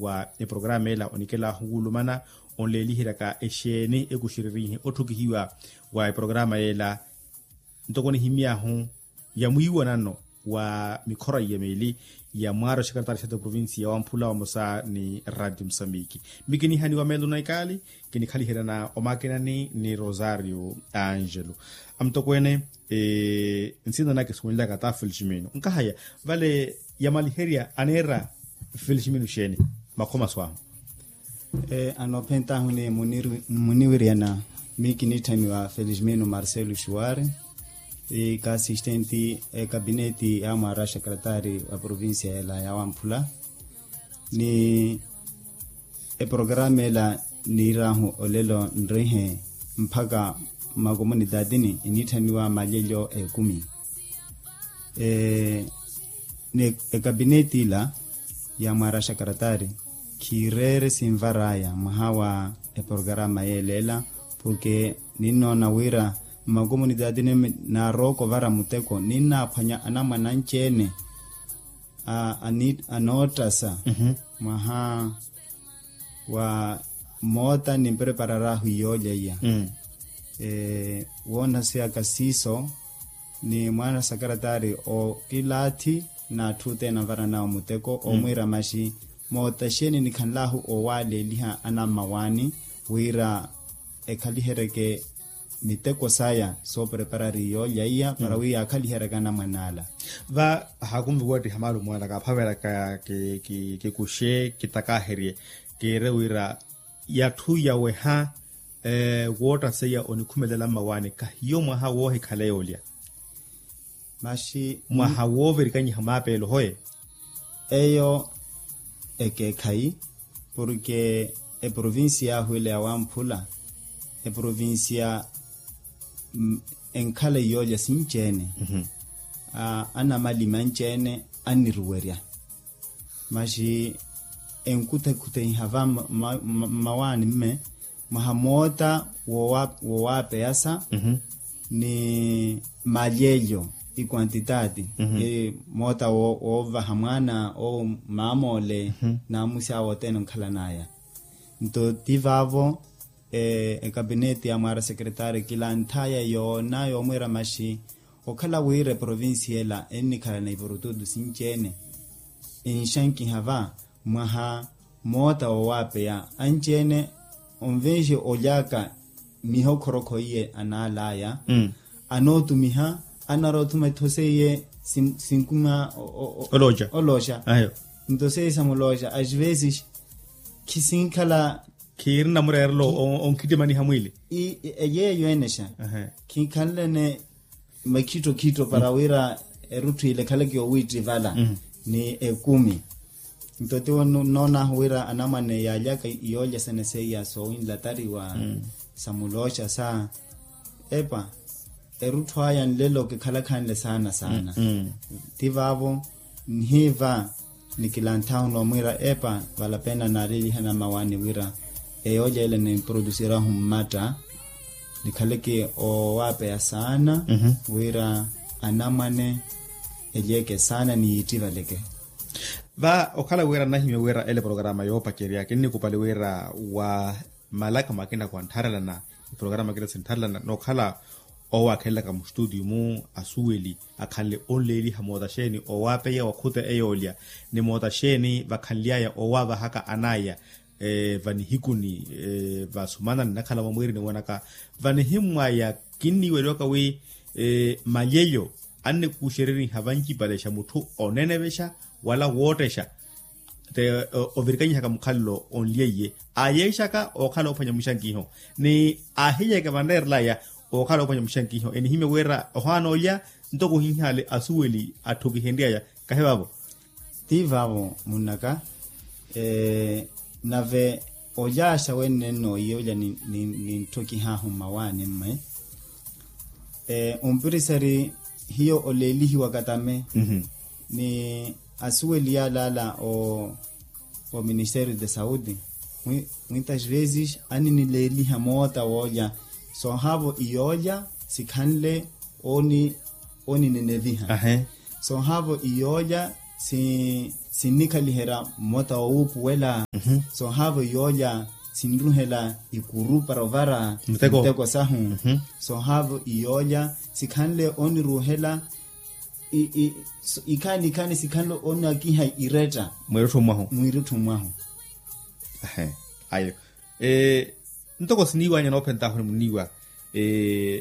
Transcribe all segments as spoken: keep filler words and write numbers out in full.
wa eprograma ela onikelahu wulumana onleeliheryaka exeeni ekuxererihe otthukihiwa wa eprograma ela. Ntoko nihimy'ahu ya mwiiwanano wa mikhora iya meeli ya mwaari oxekaretari xata provincia ya wamphula vamosa ni radio musambiki. Mikinihaniwa meelo na ikaali kinikhaliheryana omakinani ni rosario angelo. Amutokweene nsina nake suwenlyaka ta feliximino nkahaya vale yamaliherya aneera feliximino xeeni makhomaso ahu. Anoophentahu ni muniwiryana miyo kiniitthamiwa feliximino marcelo xuwari, ikaasistenti ekapineti ya mwaara xakaratari wa provincia ela ya wamphula. Ni eprograma ela niir'ahu olelo nrihe mpakha mmakomunitatini eniitthamiwa malyelyo ekumi. Ni ekapineti ila ya mwaara xakaratari khiireere sinvar'aya mwaha wa eprograma yeela ela. Porke ninnoona wira mmakomunitatini naarooka ovara muteko ninnaaphwanya anamwane anci-ene anootthasa mwaha wa moota nimpreparar'ahu iyoolya iya. Woonaseyaka siiso ni mwaana sakaratari okilaathi n'atthu othene anvaranawe muteko omwiira maxi moota xeeni nikhanl'ahu owaleeliha anammawaani wira ekhaliheryeke miteko saya soopreparari iyoolya iya para wi yaakhaliheryeke anamwane ala. Va haakunvi kuwattiha maalumo ala kaaphaveraka kikuxe kitakaherye kiire wira yatthu yaweha woottaseya onikhumelela mmawaani kahiyo mwaha woohikhala yoolya. Maxi mwaha woovirikanyiha maapeelo hoye. Eyo ekeekhayi porke eprovincia yaahu ela ya wamphula eprovincia enkhala iyoolya sinci-ene anamalimi anci-ene anniruwerya. Maxi enkhuthekhuthenyiha va mmawaani mme mwaha moota woowapeyasa ni malyelyo ikwantitaati moota woovaha mwaana owo mamoole n'amusi awo othene onkhalan'aya. Nto ti vaavo ekapineti ya mwaara sekeretari kilanth'aya yoona yoomwiira maxi okhala wira eprovincia ela ennikhalana ipurututu sinci-ene enxankiha va mwaha moota woowapeya anci-ene onvenxe olyaka mihokhorokho iye anaal'aya anootumiha anaroothuma etho seiye sinkuma olooxa. Nto seiye samulooxa asivesixi khisinkhala khiiri namureerelo onkhittimaniha mwiili. Yeeyo enexa khinkhanlene makhittokhitto para wira erutthu ile ekhaleke owiittivala ni ekumi. Nto tiwo nnoonahu wira anamwane yaalyaka iyoolya sene seiya soowinlatariwa samulooxa sa epa erutthu aya nlelo kikhalakhanle saana saana. Ti vaavo nhiiva nikilanthahu noomwiira epa valapena naaleliha namawaani wira eyoolya ile nimprodusirahu mmatta nikhaleke owaapeya saana wira anamwane elyeke saana ni yiittivaleke. Va okhala wira nnahimya wira ele programa yoopacerya kinnikupali wira wa malaka makina kwantharelana programa kina sintharelana nookhala owaakhelelaka mustutio mu asuweli akhanle onleeliha moota xeeni owaapeya wakhuta eyoolya ni moota xeeni vakhanly'aya owaavahaka an'aya vanihikuni vasumanani nnakhala mwamwiirini mwanaka vanihimmw'aya kinniiweliwaka wi malyelyo annikuxereriha vancipalexa mutthu onenevexa wala woottexa te ovirikanyihaka mukhalelo onlyeiye aayeexaka ookhala oophwanya muxankiho ni aahiyeeke vanreerelaya ookhala oophwanya muxankiho enihimya wira ohaana olya ntoko ohinhaale asuweli atthu kihenry'aya kahi vaavo. Ti vaavo munnaka nave olyaxa wenne nnooiya olya nintthokihaahu mmawaani mme ompirisari hiyo oleelihiwaka tame ni asuweli yaalala o ministerio de sauti muitas vezes aninileeliha moota woolya soohaavo iyoolya sikhanle onineneviha soohaavo iyoolya sinnikhaliherya moota wowuupuwela Soohaavo yoolya sinruhela ikuru para ovara miteko sahu. Soohaavo iyoolya sikhanle oniruhela ikhaani ikhaani sikhanle onakiha iretta mwiirutthu mwahu. Mwiirutthu mwahu. Ayo. Ntoko siniiwanya noophentahu nimuniiwa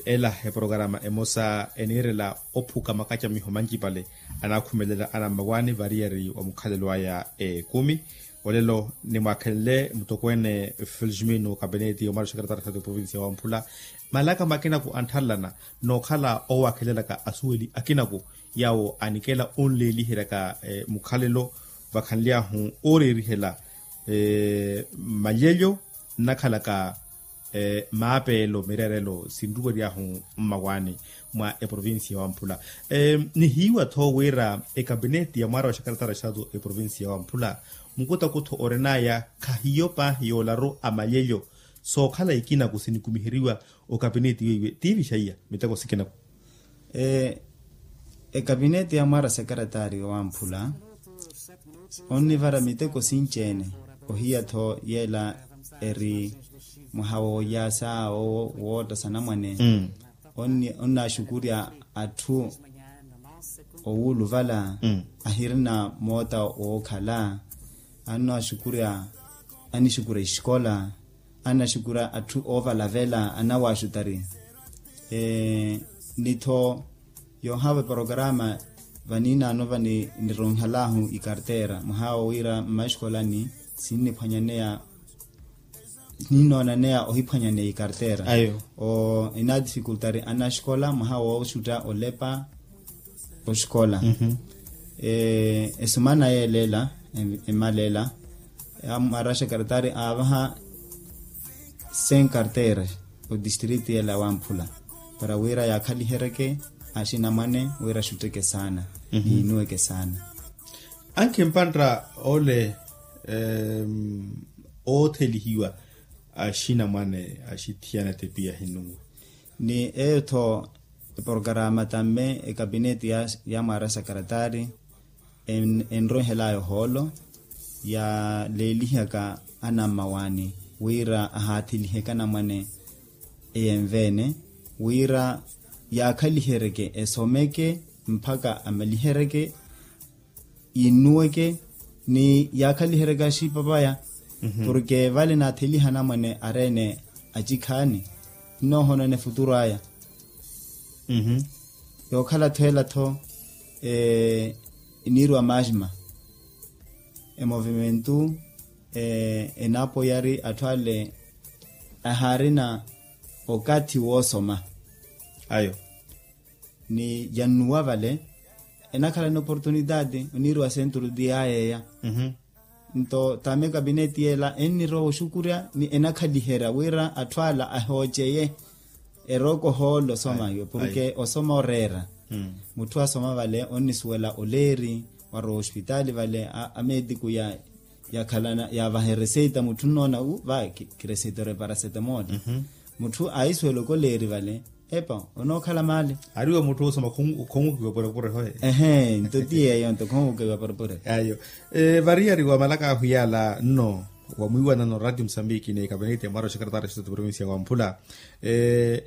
ela eprokarama emosa eniirela ophuka makacamiho mancipale anaakhumelela anammawaani variyari wa mukhalelo aya ekumi. Olelo nimwaakhenle mutokweene felixmino kapineti omara oxekaretari xato eprovincia ya wamphula malaka makinaku anttharelana nookhala owaakhelelaka asuweli akinaku yaawo anikela onleeliheryaka mukhalelo vakhanly'ahu ooreerihela mmalyelyo nnakhalaka maapeelo mireerelo sinruwery'ahu mmawaani mwa eprovincia ya wamphula. Nihiiwa-tho wira ekapineti ya mwaara wa xakaratara xato eprovincia ya wamphula mukutakutho orin'aya khahiyo paahi yoolaru a malyelyo sookhala ikinaku sinikumiheriwa okapineti weiwe tiivixaiya miteko sikinaku. Ekapineti ya mwaara sekaretari wamphula onnivara miteko sinci-ene ohiya-tho yeela eri mwaha woolyaasa wootta sanamwane. Onnaaxukurya atthu owuuluvala ahirina moota wookhala annaaxukurya anixukurya exikola annaxukurya atthu oovalavela anawaaxutari. Ni-tho yoohaava eprokarama vaniinaano vanironhalahu ikartera mwaha wowira mmaxikolani sinniphwanyaneya sininoonanneya ohiphwanyaneya ikartera o inaatifikultari anaxikola mwaha wooxutta olepa oxikola. Esumana yeela ela emala ela amwaraxa kartari aavaha sen kartera odistritu yeela wamphula para wira yaakhaliheryeke axinamwane wira axutteke saana niinuweke saana. Ankhi mpantta ole oothelihiwa axinamwane axithiyana tepiya hinuwe. Ni eyo-tho eprokarama tamme ekapineti ya mwaara sakaratari enroihel'aya ohoolo yaleelihaka anammawaani wira ahaathiliheke anamwane eyenve-ene wira yaakhaliheryeke esomeke mpakha amaliheryeke innuweke ni yaakhaliheryeke axipapaya. Porke vale naatheliha anamwane ari-ene acikhaani nnoohonana efuturu aya. Yookhala-tho ela-tho eniiriwa maasima emovimentu enaapoyari atthu ale ahaarina okathi woosoma. Ayo ni yannuwa vale enakhala ni oportunitati oniiriwa senturu ti yaayeeya. Nto tame kapineti yeela ennirowa oxukurya ni enakhaliherya wira atthu ala ahooceye erooka ohoolo osoma iwe porke osoma oreera. Mutthu asoma vale onnisuwela oleeri warowa ospitaali vale ameetiku ya yakhalana yaavaha ereseita mutthu nnoona u va kireseita ore parasetamol. Mutthu aisuwela okoleeri vale epa onookhala maali. Ariwe mutthu osoma khongukiwa purepure hoye. Ehe nto ti yeeyo nto khongukiwa purepure. Ayo. Variyari wa malaka ahu yaala nno wa mwiiwanano radio musambiki ni kapeneti ya mwaara wa xekaretari ya xitatu provincia ya wamphula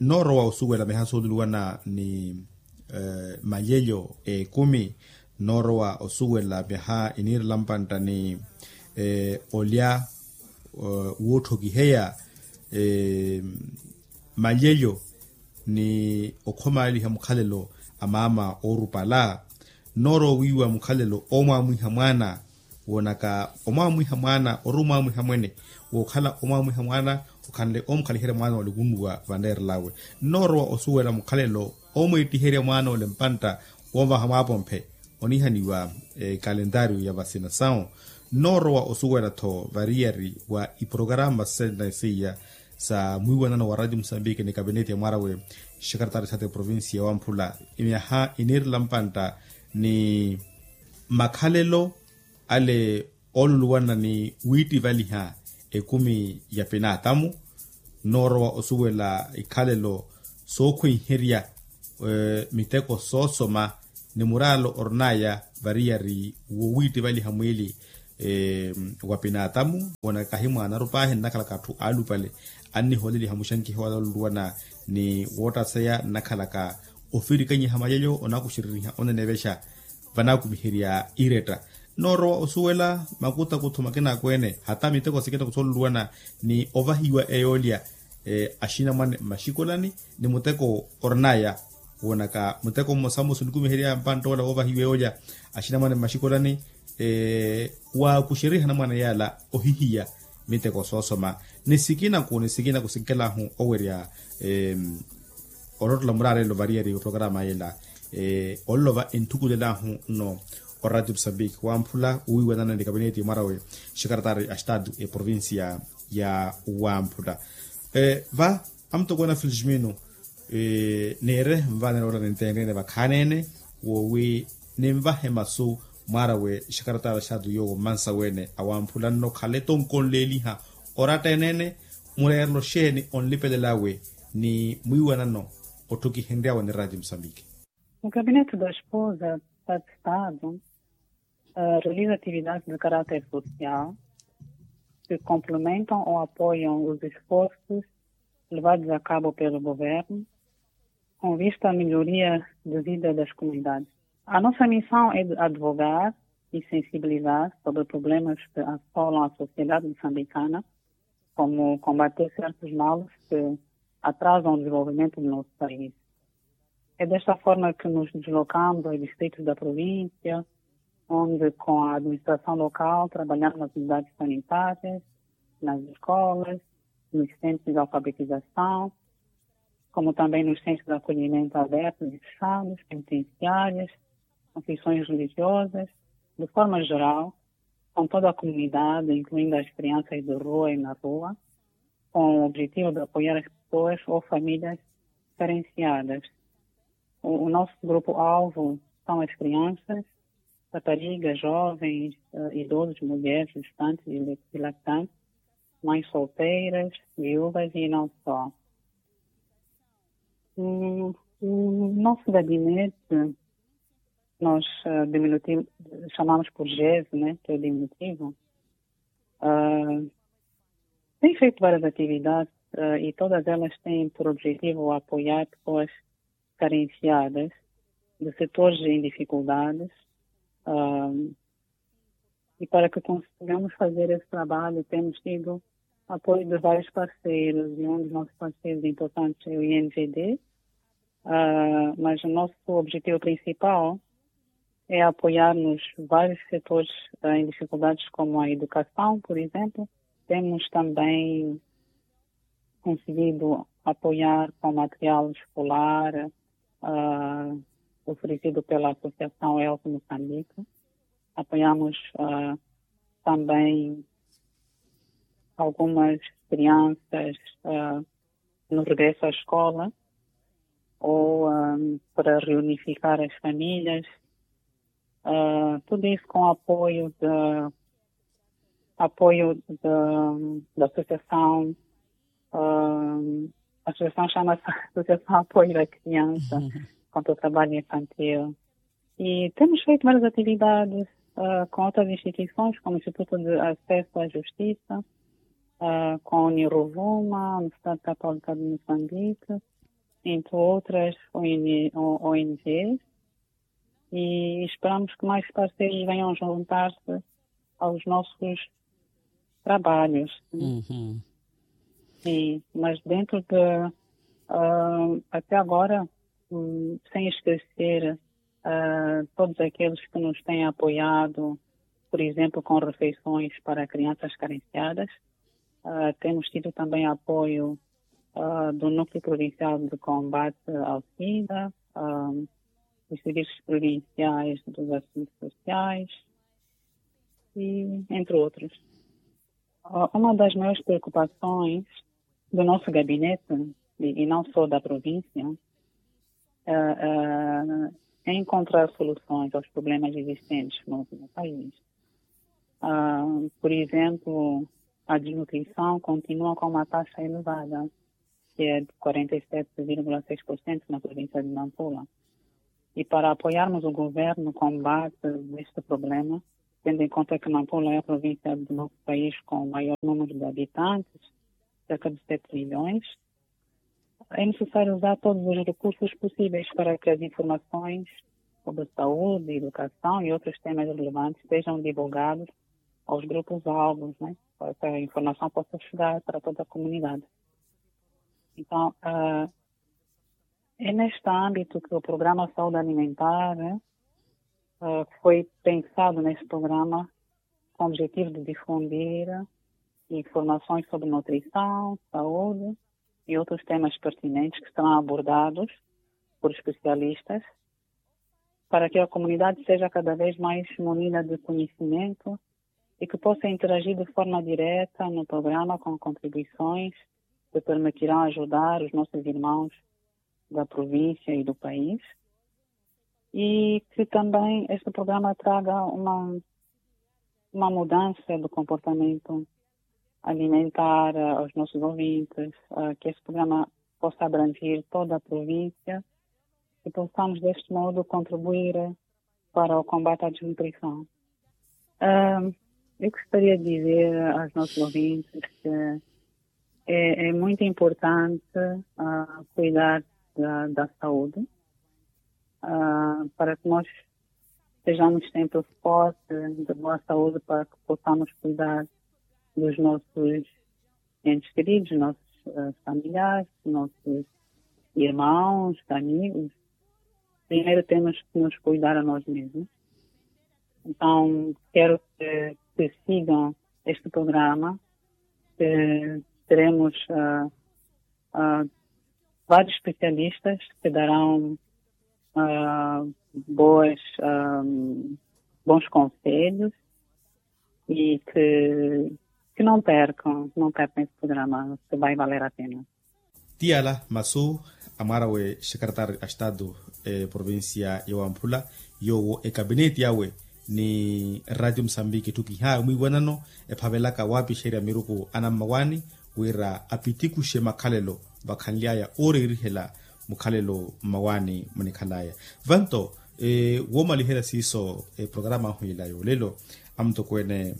nnoorowa osuwela mihaso oluluwana ni malyelyo ekumi noorowa osuwela myaha iniirela mpantta ni olya wootthokiheya malyelyo ni okhomaaliha mukhalelo a maama oorupala. Nnoorowa wiiwa mukhalelo oomwaamwiha mwaana woonaka omwaamwiha mwaana ori omwaamwiha mwene wookhala omwaamwiha mwaana okhanle omukhaliherya mwaana wale okunnuwa vanreerel'awe. Nnoorowa osuwela mukhalelo oomweettiherya mwaana ole mpantta woovaha mwaapomphe oniihaniwa ekalentaariyo ya vasina sawu. Nnoorowa osuwela-tho variyari wa iprokarama sene seiya sa mwiiwanano wa radio musambiki ni kapineti ya mwaara we xekaretari xato eprovincia ya wamphula myaha iniirela mpantta ni makhalelo ale ooluluwana ni wiittivaliha ekumi ya pinaatamu. Nnoorowa osuwela ikhalelo sookhwenherya miteko soosoma ni muraalo orin'aya variyari wowiittivaliha mwiili wa pinaatamu wonaka kahi mwaanaru paahi nnakhalaka atthu aalupale anniholeliha muxankiho wala oluluwana ni woottaseya nnakhalaka ofirikanyiha mayalyo onakuxereriha onenevexa vanakumiherya iretta. Noorowa osuwela makutakutho makinakweene hata miteko sikina kusoluluwana ni ovahiwa eyoolya axinamwane mmaxikolani ni muteko orinaya wonaka muteko mmosa mmosa onikumiherya mpanttoola woovahiwa eyoolya axinamwane mmaxikolani waakuxeriha anamwane yaala ohihiya miteko soosoma ni sikinaku ni sikinaku sinkelahu owerya olottola muraarelo variyari oprokrama yela ololova enthukulelahu nno oradio mosambiki wamphula wiiwanana ni kabineeti mwarawe xekaretari a estado eprovincia ya wamphula va amutokweene a felixmino neere nvaanene wala nintenrene vakhaanene woowi ninvahe masu mwaarawe xekaretari a estado yoowo mmansa weene awamphula nno khale tonkonleeliha oratta eneene mureerelo xeeni onlipelelawe ni mwiiwanano otthukihenryawe ni radio mosambiki. O gabinete da esposa da estado realiza atividades de caráter social que complementam ou apoiam os esforços levados a cabo pelo governo com vista à melhoria de vida das comunidades. A nossa missão é de advogar e sensibilizar sobre problemas que assolam a sociedade moçambicana, como combater certos males que atrasam o desenvolvimento do nosso país. É desta forma que nos deslocamos aos distritos da província, onde com a administração local trabalhamos nas unidades sanitárias, nas escolas, nos centros de alfabetização, como também nos centros de acolhimento abertos e fechados, penitenciárias, confissões religiosas, de forma geral, com toda a comunidade, incluindo as crianças de rua e na rua, com o objetivo de apoiar as pessoas ou famílias carenciadas. O nosso grupo-alvo são as crianças, raparigas, jovens, idosos, mulheres, gestantes e lactantes, mães solteiras, viúvas e não só. O nosso gabinete, nós diminutivo, chamamos por GES, né, que é o diminutivo, tem feito várias atividades e todas elas têm por objetivo apoiar pessoas carenciadas, de setores em dificuldades, e para que consigamos fazer esse trabalho temos tido apoio de vários parceiros e um dos nossos parceiros importantes é o I N G D, mas o nosso objetivo principal é apoiar-nos vários setores em dificuldades como a educação, por exemplo. Temos também conseguido apoiar com material escolar oferecido pela Associação Elco Moçambique. Apoiamos também algumas crianças no regresso à escola ou para reunificar as famílias. Tudo isso com apoio da, apoio da, da associação, a associação chama-se Associação Apoio da Criança contra o Trabalho Infantil. E temos feito várias atividades com outras instituições, como o Instituto de Acesso à Justiça, com a Uniruvuma, a Universidade Católica de Moçambique, entre outras O N Gs, e esperamos que mais parceiros venham juntar-se aos nossos trabalhos. Sim, mas dentro de, até agora, sem esquecer todos aqueles que nos têm apoiado, por exemplo, com refeições para crianças carenciadas. Temos tido também apoio do Núcleo Provincial de Combate ao SIDA, dos Serviços Provinciais dos Assuntos Sociais, e entre outros. Uma das maiores preocupações do nosso gabinete, e não só da província, é encontrar soluções aos problemas existentes no país. Por exemplo, a desnutrição continua com uma taxa elevada, que é de quarenta e sete vírgula seis por cento na província de Nampula. E para apoiarmos o governo no combate a este problema, tendo em conta que nampula é a província do nosso país com o maior número de habitantes, cerca de sete milhões, é necessário usar todos os recursos possíveis para que as informações sobre saúde, educação e outros temas relevantes sejam divulgados aos grupos alvos, né? Para que a informação possa chegar para toda a comunidade. Então, ah, é neste âmbito que o programa Saúde Alimentar, né, ah, foi pensado neste programa com o objetivo de difundir informações sobre nutrição, saúde e outros temas pertinentes que serão abordados por especialistas, para que a comunidade seja cada vez mais munida de conhecimento e que possa interagir de forma direta no programa com contribuições que permitirão ajudar os nossos irmãos da província e do país, e que também este programa traga uma, uma mudança do comportamento alimentar, ah, aos nossos ouvintes, ah, que este programa possa abranger toda a província e possamos, deste modo, contribuir para o combate à desnutrição. Ah, eu gostaria de dizer aos nossos ouvintes que é, é muito importante, ah, cuidar da, da saúde, ah, para que nós estejamos sempre fortes, de boa saúde, para que possamos cuidar dos nossos entes queridos, nossos, ah, familiares, nossos irmãos, amigos. Primeiro temos que nos cuidar a nós mesmos. Então, quero que, que sigam este programa. Eh, teremos, ah, ah, vários especialistas que darão, ah, boas, ah, bons conselhos e que, que não percam, não percam esse programa, que vai valer a pena. Tiyala masu a mwaara we xekaretari a estatu, eprovincia ya wamphula, yoowo ekabineti awe ni ratio musambiki etthukihawe mwiiwanano ephavelaka waapixerya miruku anammawaani wira apitikuxe makhalelo vakhanly'aya ooreerihela mukhalelo mmawaani munikhal'aya. Vanto woomaliherya siiso eprograma ahu ila yoolelo, amutokweene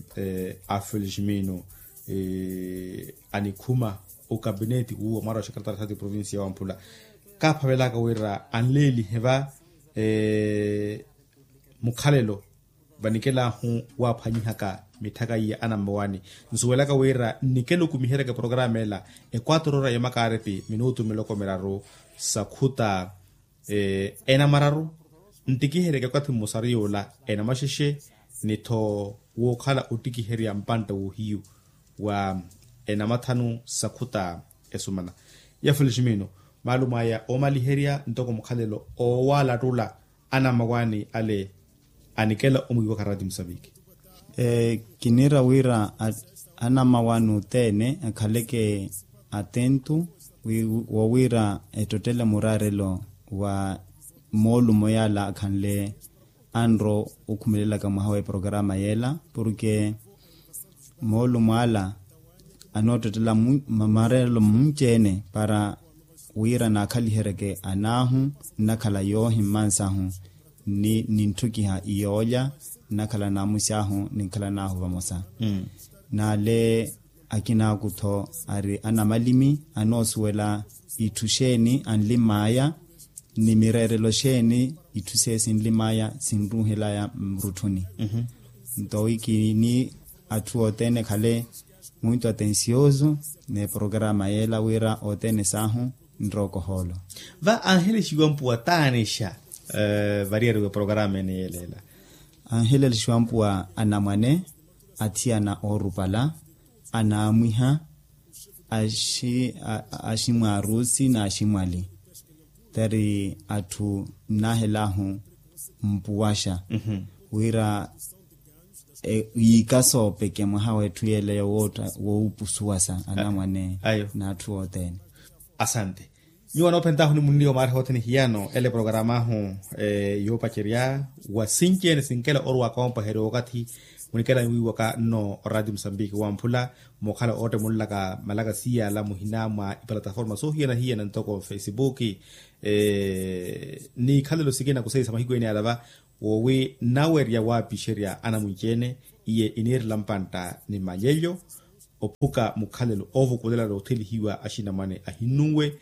a feliximino anikhuma okabineti wuwo mwaara wa xekaretari a estatu eprovincia ya wamphula, kaaphavelaka wira anleelihe va mukhalelo vanikelahu waaphwanyihaka mitthaka iya anammawaani. Nsuwelaka wira nnikela okumiheryaka eprograma ela equatro ora ya makaaripi minutu miloko miraru sa khuta enamararu, ntikiheryaka okathi mmosaru yoola enamaxexe ni-tho wookhala ottikiherya mpantta woohiyu wa enamathanu sa khuta esumana. Ya feliximino, maalumo aya oomaliherya ntoko mukhalelo oowalattula anammawaani ale anikela omwiiwaka ratio musambiki. Kiniira wira anammawaani othene akhaleke attentu woowiira ettottele muraarelo wa moolumo yaala akhanle anro okhumelelaka mwaha w'eprograma yeela porke moolumo ala anoottottela mareelo munci-ene para wira naakhaliheryeke anaahu nnakhala yoohi mmansahu ni nintthukiha iyoolya nnakhala naamux'ahu ninkhala naahu vamosa. Naale akinaaku-tho ari anamalimi anoosuwela itthu xeeni anlimm'aya ni mireerelo xeeni itthu seiyo sinlimm'aya sinruuhel'aya murutthuni. Nto wi kini atthu othene ekhale muito atencioso n'eprograma yeela wira othene saahu nrooko ohoolo. Va anhelexiwa mpuwa taanexa variyari w'eprograma ene yeela ela? Anhelexiwa mpuwa anamwane, athiyana oorupala, anaamwiha, aximwaarusi n'aximwali. Tari atthu nnaahelahu mpuwaxa wira yiika soopeke mwaha w'etthu yeeleyo woopusuwasa anamwane n'atthu othene. Asante. Nyuwo anoophentahu ni munliwa maariha othene hiyano ele programa ahu yoopacerya wa sinci-ene sinkela orwa koompaherya wookathi munikela niwiiwaka nno oraatio musambiki wamphula mookhala oottemulelaka malaka siyala muhina mwa ipalataforma soohiyana-hiyana ntoko facebook ni ikhalelo sikina kuseisa mahiku ene yala va Woowi nnawerya waapixerya anamwinci-ene, iye iniirela mpantta ni malyelyo ophuka mukhalelo oovukulela noothelihiwa axinamwane ahinnunwe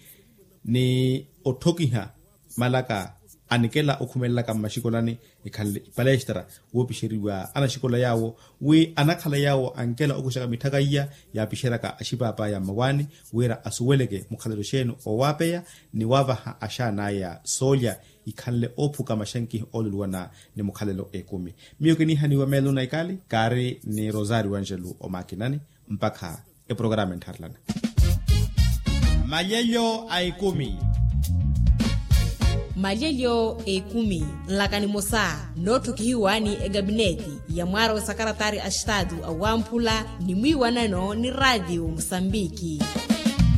ni otthokiha malaka anikela okhumelelaka mmaxikolani, ekhanle ipalestra woopixeriwa anaxikola yaawo wi anakhala yaawo ankela okuxaka mitthaka iya yaapixeryaka axipaapaaya mmawaani wira asuweleke mukhalelo xeeni oowaapeya ni waavaha axaan'aya soolya ikhanle oophuka maxankihi ooluluwana ni mukhalelo ekumi. Miyo kiniihaniwa meelo na ikali kaari ni rosario angelo omakinani mpakha eprograma enttharilana. Malyelyo a ekumi. Malyelyo a ekumi nlaka nimosa nootthokihiwa ni egabineti ya mwaara wa sakaratari a estatu awamphula ni mwiiwanano ni raatiyo musambiki.